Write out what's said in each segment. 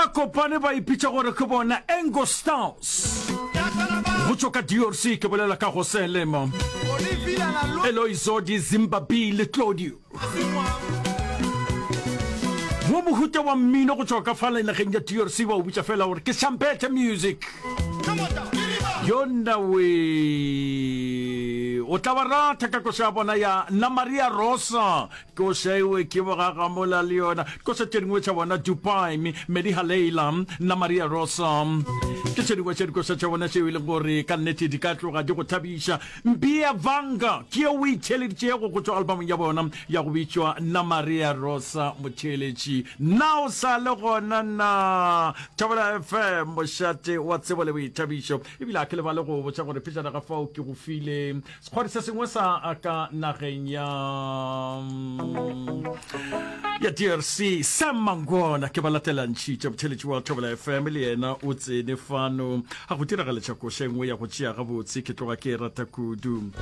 Ba kopane ba ipitša gore ke bona Engo Stars. Go tšwa ka DRC ke bolela ka Jose Lema, Eloi Zodi, Zimba B le Claudio. Wo mohuta wa mmino go tšwa ka fale nageng ya DRC ba o bitša fela gore ke Champete Music. Yona we o tla ba rata ka koša ya bona ya Na Maria Rosa. Koša ewe ke bogagamola le yona. Koša tše dingwe tša bona Dubai, Mediha Leila, Na Maria Rosa. Ke tše dingwe tša dikoša tša bona tšeo e leng gore ka nnete di ka tloga di go thabiša. Mbia Vanga ke yeo o e theeleditšego go tšwa albumong ya bona ya go bitšwa Na Maria Rosa Motheeletši. Na o sa le gona na? Thobela FM, mošate wa tsebo le boithabišo. Ebile a ke lebale go botša gore pejana ga fao ke go file Sekgwari se sengwe sa ka nageng ya ya DRC Sam Mangwana ke ba latelantšhitše botheletši wa Thobela FM le yena o tsene fano a go diragaletša koša e nngwe ya go tšea gabotse ke tloga ke e rata kudu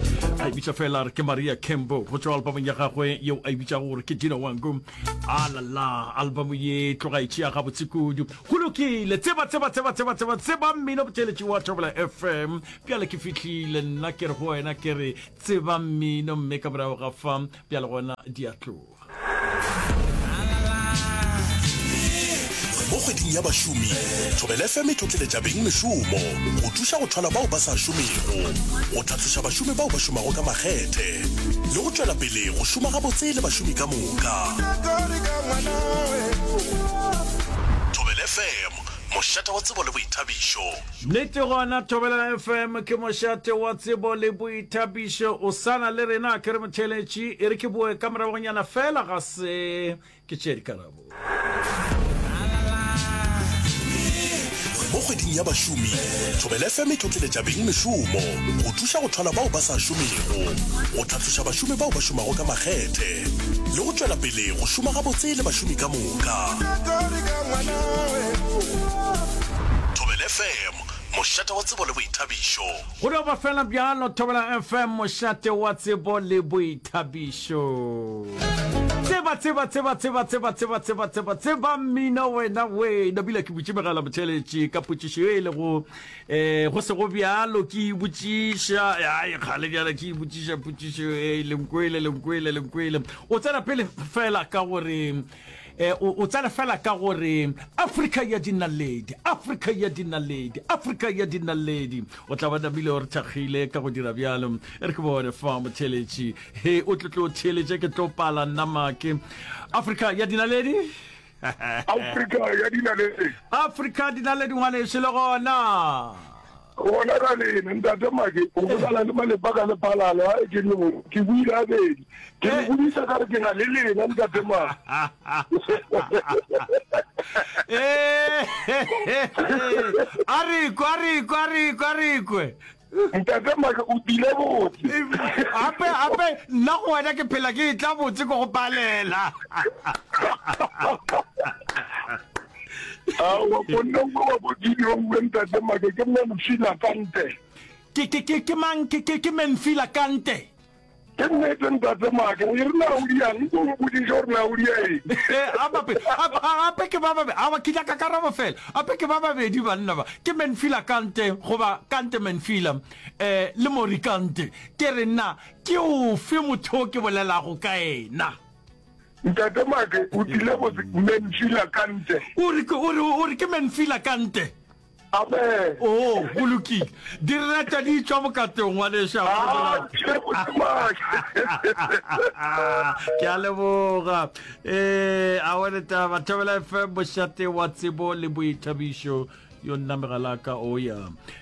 a e bitša fela re ke Maria Kembo go tšwa albumong ya gagwe yeo a e bitšago gore ke Dino Wangu a la la album ye tloga e tšea gabotse kudu go lokile tseba tseba tseba tseba tseba tseba mmino botheletši wa Thobela FM Bjale ke fihlile, nna ke re go wena, ke re, Tseba mmino, mme ka morago ga fa, bjale gona di a tloga. Mo kgweding ya bašomi, Thobela FM e tlotleletša beng mešomo go thuša go thwala bao ba sa šomego, go tlhatloša bašomi bao ba šomago ka makgethe le go tšwela pele go šoma gabotse le bašomi ka moka. Thobela FM, mošate wa tsebo le boithabišo. Nnete gona Thobela FM ke mošate wa tsebo le boithabišo. O sa na le rena ke re motheeletši, e re ke boe ka moragonyana fela ga se ke tšee dikarabo. Mo kgweding ya bašomi, Thobela FM e tlotleletša beng mešomo go thuša go thwala bao ba sa šomego, go tlhatloša bašomi bao ba šomago ka makgethe le go tšwela pele go šoma gabotse le bašomi ka moka. Thobela FM, mošate wa tsebo le boithabišo. Go no ba fela bjalo, Thobela FM, mošate wa tsebo le boithabišo. Tseba, tseba, tseba, tseba, tseba, tseba, tseba, tseba, tseba mmino wena we. Nabile ke butše megala motheeletši ka potšišo ye e lego eh go sego bjalo ke e botšiša ai kgale bjale ke e botšiša potšišo e lenkwele lenkwele lenkwele. O tsena pele fela ka gore Eh, o, o tsena fela ka gore Afrika ya dinaledi, Afrika ya dinaledi, Afrika ya dinaledi. O tla ba namile o re thakgile ka go dira bjalo. E re ke bone fa motheletši. He, o tlo tlo theletše ke tlo pala nna make. Afrika ya dinaledi? Afrika ya dinaledi. Afrika dinaledi ngwanešu le gona. Gona ka lena, Ntate Make, o bolela le malepa ka lephalalo, a ke le ke buile abedi. Ke le bodisa ka re ke na le lena, Ntate Make. Eh, a re kwe, a re kwe, a re kwe, a re kwe. Ntate Make, o tile botse. Gape, gape, nna go wena ke phela ke etla botse ko go palela. Aowa, monna o wa ko Gideon ntate Make ke Memphila Kante. Ke ke ke ke mang ke ke ke Memphila Kante. Ke nnete ntate Make, o e re na o diang, nko o mpotšiše gore na o dia eng. Eh, a bape, a ape ke ba babe, awa ke nyaka karabo fela. Ape ke ba babedi banna ba. Ke Memphila Kante goba Kante Memphila eh le Mori Kante. Ke re na ke ofe motho o ke bolelago ka ena? Ntate Make o tlile go Menfila Kante. O re o re o re ke Menfila Kante. Amen. Oh, go lokile. Di reta di tšwa bokatong ngwanešu. Ah, ke botse Make. Ke a leboga. Eh, a wele taba Thobela FM mošate wa tsebo le boithabišo. Yo nna megalaka o ya.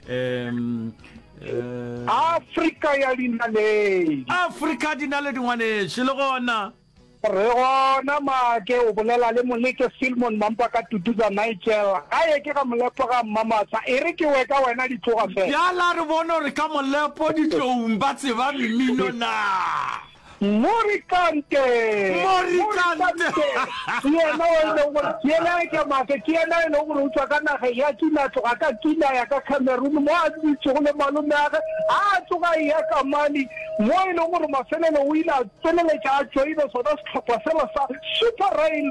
Um eh Afrika ya dinaledi. Afrika dinaledi ngwanešu le gona. Re gona Make, o bolela le Moleke Filmon Mampa ka Tutuza Nigel. Gae ke ga Molepo ga Mmamatsha. E re ke we ka wena di tloga fela. Bjala re bone gore ka Molepo ditloung ba tseba mmino na. Morikante! Morikante! Ke yena o e leng gore ke yena ke Make, ke yena e leng gore o tšwa ka nageng ya Kina, a tloga ka Kina a ya ka Cameroon mo a dutšego le malomeage, a tsoga a eya ka Mali mo e leng gore mafelelo o ile a Feleletša a tšoina sona sehlopha sela sa Super Rail.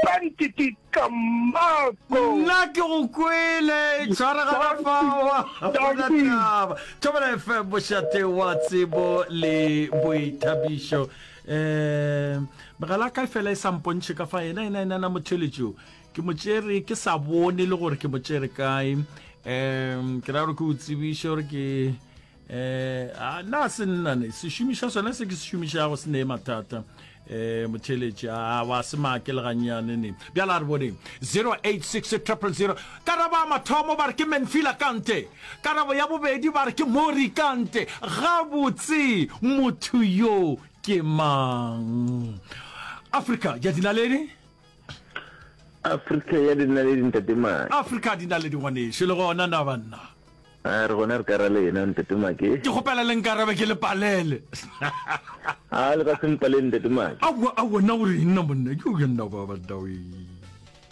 Pantiti Kamako. Nna ke go kwele, tshwaragana fao, ga gona taba. Thobela FM, mošate wa tsebo le boithabišo. Um megala ka fela e sa mpontšhe ka fa yena yena yena na motheletšo ke mo tšere ke sa bone le gore ke mo tšere kae um ke ra gore ke o tsebiše gore ke Eh, a na se nna ne sešomišwa sona se ke se šomišago se ne mathata eh motheletši a wa se make le gannyane ne bjala a re boneng 086 000 karabo ya mathomo ba re ke menfila kante karabo ya bobedi ba re ke mori kante gabotse motho yo ke mang afrika ya dinaledi Afrika ya dinaledi ntate Make. Afrika ya dinaledi ngwanešu le gona na banna. A re gona re ka ra lena ntate Make. Ke kgopela le nkarabe ke le palele. A le ka se mpalele ntate Make. Aowa aowa nna o reng nna monna yo ya nna ba banna we.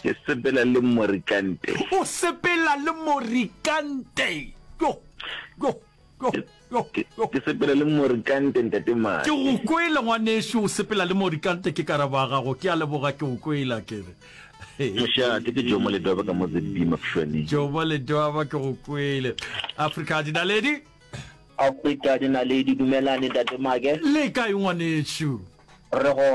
Ke sepela le Morikante. O sepela le Morikante. Yo yo yo. Ke sepela le Morikante ntate Make. Ke go kwele ngwanešu o sepela le Morikante ke karabo ya gago ke a leboga ke go kwele a kere. Mošate ke Jomo Ledwaba ka mo ZB Mafšwaneng. Jomo Ledwaba ke go kwele. Afrika Dinaledi. Afrika Dinaledi dumelane ntate Make. Le kae ngwanešu? Re gona.